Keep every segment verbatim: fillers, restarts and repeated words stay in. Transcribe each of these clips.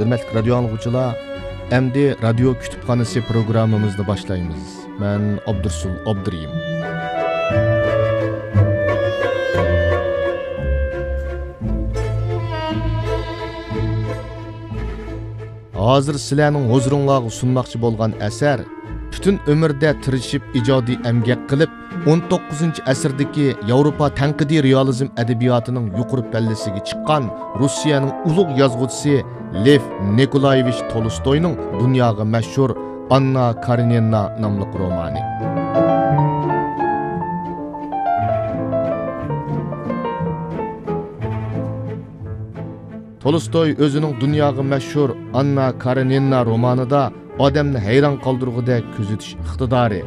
ھۆرمەتلىك رادىيو ئاڭلىغۇچىلار، ئەمدى رادىيو كۇتۇپخانىسى پروگراممىمىزنى باشلايمىز. مەن ئابدۇرسۇل ئابدۇرېھىم. ھازىر سىلەرنىڭ ھۇزۇرۇڭلارغا سۇنماقچى بولغان ئەسەر پۈتۈن ئۆمرىدە تىرىشىپ ئىجادىي ئەمگەك قىلىپ، ئون توققۇزىنچى ئەسىردىكى ياۋروپا تەنقىدىي رېئالىزم ئەدەبىياتىنىڭ يۇقىرى پەللىسىگە چىققان روسىيەنىڭ ئۇلۇغ يازغۇچىسى لېف نىكولايېۋىچ تولستوينىڭ دۇنياغا مەشھۇر ئاننا كارېنىنا ناملىق رومانى. تولستوي ئۆزىنىڭ دۇنياغا مەشھۇر ئاننا كارېنىنا رومانىدا ئادەمنى ھەيران قالدۇرغۇدەك كۆزىتىش ئىقتىدارى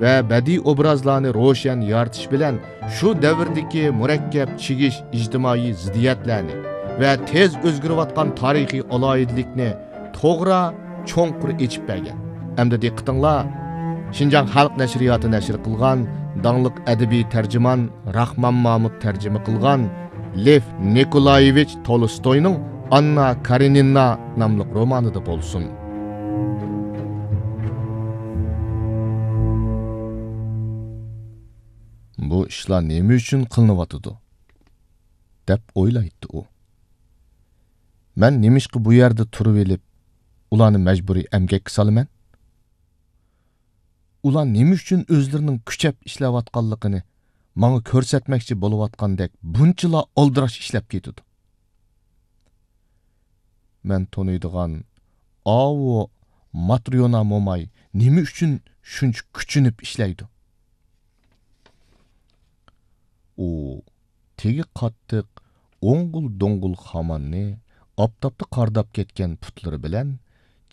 ۋە بەدىئىي ئوبرازلارنى روشەن يارىتىش بىلەن شۇ دەۋردىكى مۇرەككەپ چىگىش ئىجتىمائىي زىددىيەتلەرنى ۋە تېز ئۆزگىرىۋاتقان تارىخىي ئالاھىدىلىكنى توغرا، چوڭقۇر ئېچىپ بەرگەن. ئەمدى دىققىتىڭلار شىنجاڭ خەلق نەشرىياتى نەشر قىلغان داڭلىق ئەدەبىي تەرجىمان راخمان مامۇت تەرجىمە قىلغان لېف نىكولايېۋىچ تولستوينىڭ ئاننا كارېنىنا ناملىق رومانىدا بولسۇن. بۇ ئىشلار نېمە ئۈچۈن قىلىنىۋاتىدۇ؟ دەپ ئويلايتتى ئۇ. مەن نېمىشقا بۇ يەردە تۇرۇۋېلىپ، ئۇلارنى مەجبۇرىي ئەمگەككە سالىمەن؟ ئۇلار نېمە ئۈچۈن ئۆزلىرىنىڭ كۈچەپ ئىشلەۋاتقانلىقىنى ماڭا كۆرسەتمەكچى بولۇۋاتقاندەك بۇنچىلا ئالدىراش ئىشلەپ كېتىدۇ؟ مەن تونۇيدىغان ئاۋۇ ماتريونا موماي نېمە ئۈچۈن شۇنچە كۈچىنىپ ئىشلەيدۇ؟ ئۇ تېگى قاتتىق ئوڭغۇل-دوڭغۇل خاماننى، ئاپتاپتا قارىداپ كەتكەن پۇتلىرى بىلەن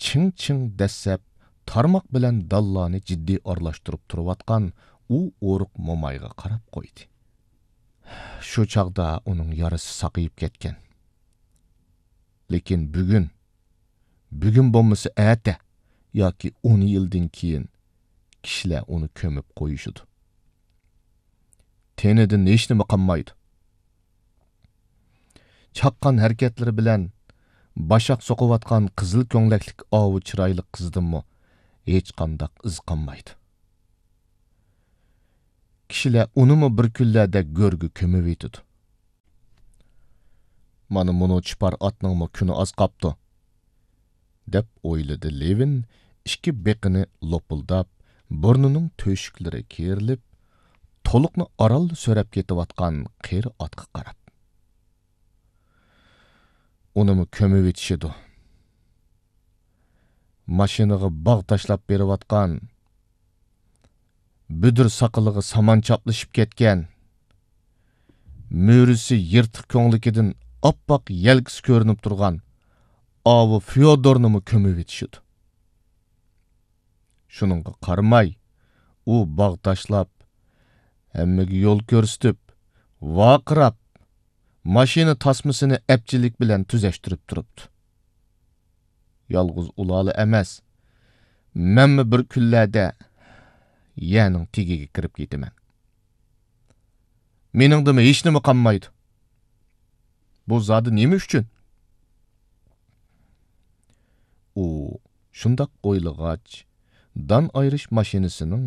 چىڭ-چىڭ دەسسەپ، تارماق بىلەن دانلارنى جىددىي ئارىلاشتۇرۇپ تۇرۇۋاتقان ئۇ ئورۇق مومايغا قاراپ قويدى. شۇ چاغدا ئۇنىڭ يارىسى ساقىيىپ كەتكەن. لېكىن بۈگۈن، بۈگۈن بولمىسا ئەتە ياكى ئون يىلدىن كېيىن كىشىلەر ئۇنى كۆمۈپ قويۇشىدۇ. تېنىدىن ھېچنېمە قالمايدۇ. چاققان ھەرىكەتلىرى بىلەن باشاق سوقۇۋاتقان قىزىل كۆڭلەكلىك ئاۋۇ چىرايلىق قىزدىنمۇ ھېچقانداق ئىز قالمايدۇ. كىشىلەر ئۇنىمۇ بىر كۈنلەردە گۆرگە كۆمۈۋېتىدۇ. مانا مۇنۇ چىپار ئاتنىڭمۇ كۈنى ئاز قاپتۇ، دەپ ئويلىدى لېۋىن ئىككى بېقىنى لوپۇلداپ، بۇرنىنىڭ تۆشۈكلىرى كېرىلىپ، تولۇقنى ئارانلا سۆرەپ كېتىۋاتقان قېرى ئاتقا قاراپ. ئۇنىمۇ كۆمۈۋېتىشىدۇ. ماشىنىغا باغ تاشلاپ بېرىۋاتقان، بۈدۈر ساقىلىغا سامان چاپلىشىپ كەتكەن، مۈرىسى يىرتىق كۆڭلىكىدىن ئاپئاق يەلكىسى كۆرۈنۈپ تۇرغان ئاۋۇ فيودورنىمۇ كۆمۈۋېتىشىدۇ. شۇنىڭغا قارىماي، ئۇ باغ تاشلاپ، ھەممىگە يول كۆرسىتىپ، ۋارقىراپ، ماشىنا تاسمىسىنى ئەپچىللىك بىلەن تۈزەشتۈرۈپ تۇرۇپتۇ. يالغۇز ئۇلارلا ئەمەس، مەنمۇ بىر كۈنلەردە يەرنىڭ تېگىگە كىرىپ كېتىمەن. مېنىڭدىمۇ ھېچنېمە قالمايدۇ. بۇ زادى نېمە ئۈچۈن؟ ئۇ شۇنداق ئويلىغاچ، دان ئايرىش ماشىنىسىنىڭ